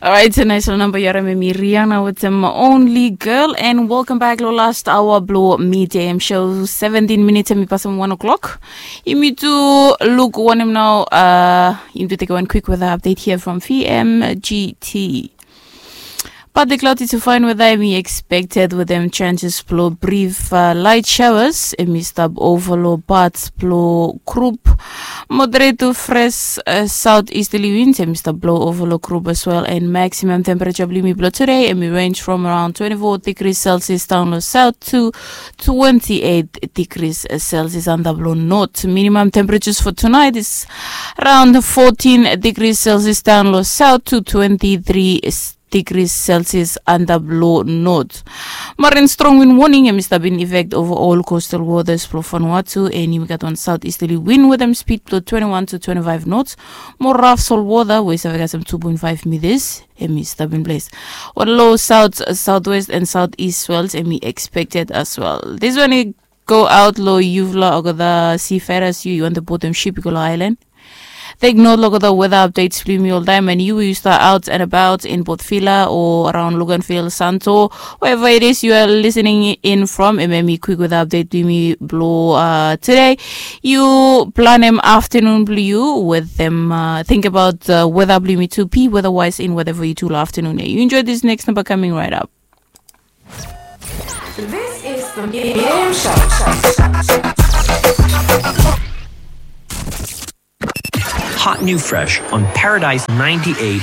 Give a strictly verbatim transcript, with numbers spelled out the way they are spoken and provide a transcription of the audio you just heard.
Alright, so nice lo namba yu harim em i Rihanna wetem Only Girl, and welcome back lo last hour blo Midday Am Show. Seventeen minutes em i pasem one o'clock. Yumi tu luk wanem nao, uh, yumi tu tekem wan quick weather update here from V M G T. Partly cloudy to fine weather em i expected wetem chances blo brief, uh, light showers. Em i stap ova lo parts blo group. Moderate to fresh, uh, southeasterly winds em i stap blo ova lo group as well, and maximum temperature blo yumi blo today em i range from around twenty-four degrees Celsius down lo south to twenty-eight degrees Celsius antap lo north. Minimum temperatures for tonight is around fourteen degrees Celsius down lo south to twenty-three degrees Celsius antap lo north. Marin strong wind warning em i stap in effect ova ol coastal waters blo Vanuatu, and yumi gat wan southeasterly wind wetem speed blo twenty-one to twenty-five knots. Mo raf sol wota we i save kasem two point five meters em i stap in place. Wan low south, southwest and southeast swells em i expected as well. This one i go out lo yufala olgeta seafarers, yu yu wantem botem ship i go lo island. Take note lo olgeta weather updates blo yumi oltaem, and yu we yu stap out and about in both Vila o around Luganville, Santo, wherever it is you are listening in from, em em i quick weather update blo yumi blo, uh, today. Yu planem afternoon blo yu wetem, uh, think about, uh, weather blo yumi tu, be weather wise in whatever yu tu lo afternoon. Yu enjoy this next number coming right up. This is the Midday Am Show. Hot new fresh on Paradise ninety-eight